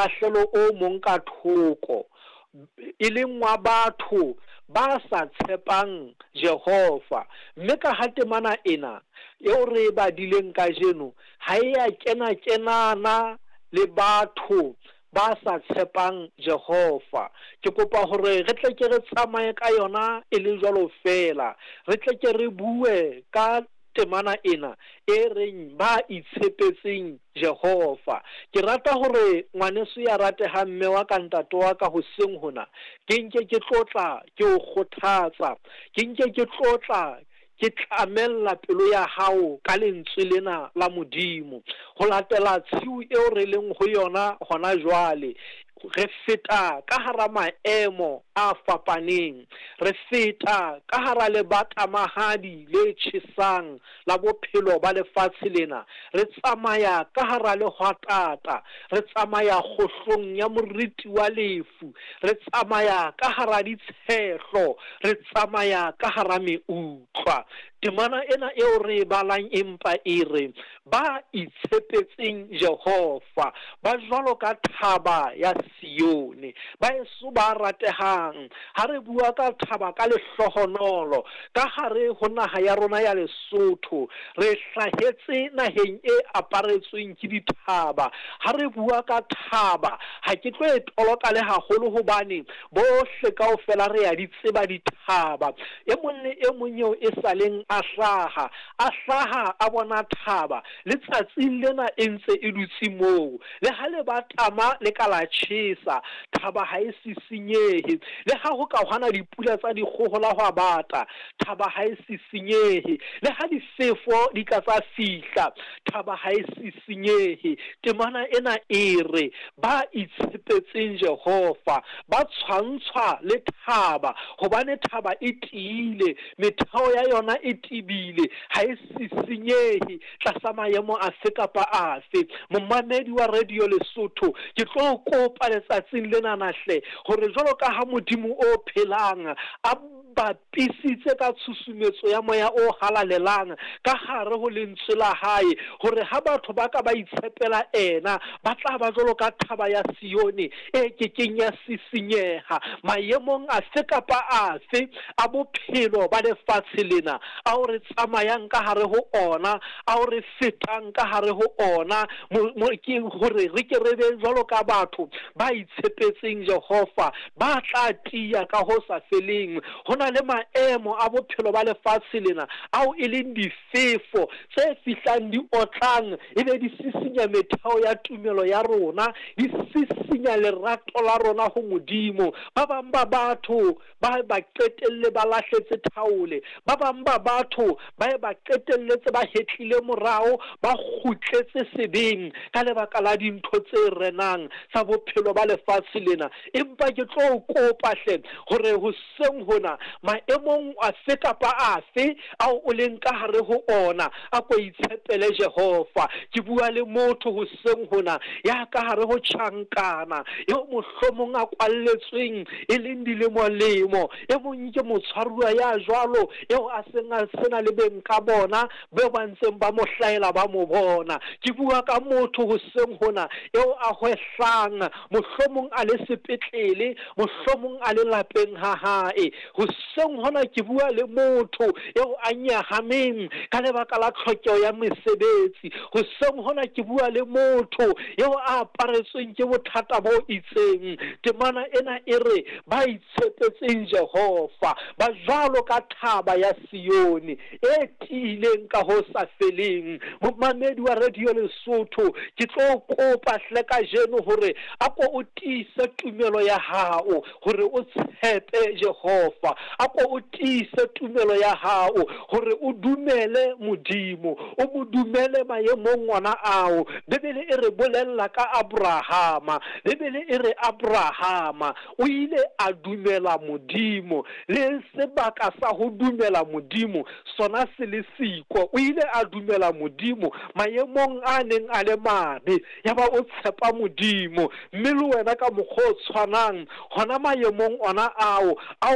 mokgahlelo o mong ka thoko, e leng wa batho ba sa tshepang Jehova. Mme ka ha temana ena eo re e badileng kajeno ha e a kena-kenana le batho ba sa tshepang Jehova, ke kopa hore re tle ke re tsamaye ka yona e le jwalo feela, re tle ke re bue ka temana ena e reng ba itshepetseng Jehova. Ke rata hore ngwaneso ya ratehang, mme wa ka, ntate wa ka, hoseng hona ke nke ke tlotla ke o kgothatsa, ke nke ke tlotla ke tlamella pelo ya hao ka lentswe lena la Modimo. Ho latela tshiu eo re leng ho yona hona jwale, re feta ka hara maemo a fapaneng, re feta ka hara lebatamahadi le tjhesang la bophelo ba lefatshe lena, re tsamaya ka hara lehwatata, re tsamaya kgohlong ya moriti wa lefu, re tsamaya ka hara ditshehlo, re tsamaya ka hara meutlwa. Temana ena eo re e balang empa e re, ba itshepetseng Jehova ba jwalo ka thaba ya Sione, ba eso ba ratehang. Ha re bua ka thaba ka lehlohonolo ka hare ho naha ya rona ya Lesotho, re hlahetse naheng e aparetsweng ke dithaba. Ha re bua ka thaba, ha ke tlo e toloka le haholo hobane bohle kaofela re ya di tseba dithaba. E mong le e mong eo e sa leng a hlaha, a hlaha a bona thaba, le tsatsing lena e ntse e dutse moo. Le ha lebatama le ka la tjhesa, thaba ha e sisinyehe. Le ha ho ka hwana dipula tsa dikgohola hwa bata, thaba ha e sisinyehe. Le ha difefo di ka tsa fihla, thaba ha e sisinyehe. Temana ena e re, ba itshepetseng Jehova ba tshwantshwa le thaba, hobane thaba e tiile, metheo ya yona e tebile, ha e sisinyehe tlasa maemo afe kapa afe. Momamedi wa Radio Lesotho, ke tlo kopa letsatsing lena hle hore jwalo ka ha Modimo o phelang a bapisitse ka tshusumetso ya moya o halalelang ka hare ho lentswe la hae, hore ha batho ba ka ba itshepela ena, ba tla ba jwalo ka thaba ya Sione e kekeng ya sisinyeha maemong afe kapa afe a bophelo ba lefatshe lena ao re tsamayang ka hare ho ona, ao re fetang ka hare ho ona. Ke hore re ke re be jwalo ka batho ba itshepetseng Jehova, ba tla tiya ka ho sa feleng. Ho na le maemo a bophelo ba lefatshe lena ao e leng difefo tse fihlang di otlang, ebe di sisinya metheo ya tumelo ya rona, di sisinya lerato la rona ho Modimo. Ba bang ba batho ba ba qetelle ba lahletse thaole, ba bang ba batho ba ba qetelletse ba hetlile morao, ba kgutletse sebeng ka lebaka la dintho tse renang tsa bophelo ba lefatshe lena. Empa ke tlo kopa hle hore hoseng hona, maemong afe kapa afe ao o leng ka hare ho ona, a ko itshepele Jehova. Ke bua le motho hoseng hona ya ka hare ho tjhankana, eo mohlomong a kwalletsweng e leng dilemo-lemo. E mong ke motshwaruwa ya jwalo eo a seng a sena le beng ka bona beo ba ntseng ba mo hlaela ba mo bona. Ke bua ka motho hoseng hona eo a hwehlang, mohlomong a le sepetlele, mohlomong a le lapeng ha hae. Hoseng hona ke bua le motho eo a nyahameng ka lebaka la tlhokeho ya mesebetsi. Hoseng hona ke bua le motho eo a aparetsweng ke bothata bo itseng. Temana ena e re, ba itshepetseng Jehova ba jwalo ka thaba ya Sione e tiileng ka ho sa feleng. Momamedi wa Radio Lesotho, ke tlo kopa hle kajeno hore a ko o tiise tumelo ya hao, hore o tshepe Jehova. A ko o tiise tumelo ya hao, hore o dumele Modimo, o mo dumele maemong ona ao. Bibele e re bolella ka Abrahama. Bibele e re Abrahama o ile a dumela Modimo, le sebaka sa ho dumela Modimo sona se le siko. O ile a dumela Modimo maemong a neng a le mabe, yaba o tshepa Modimo. Mme le wena ka mokgwa o tshwanang, hona maemong ona ao, ao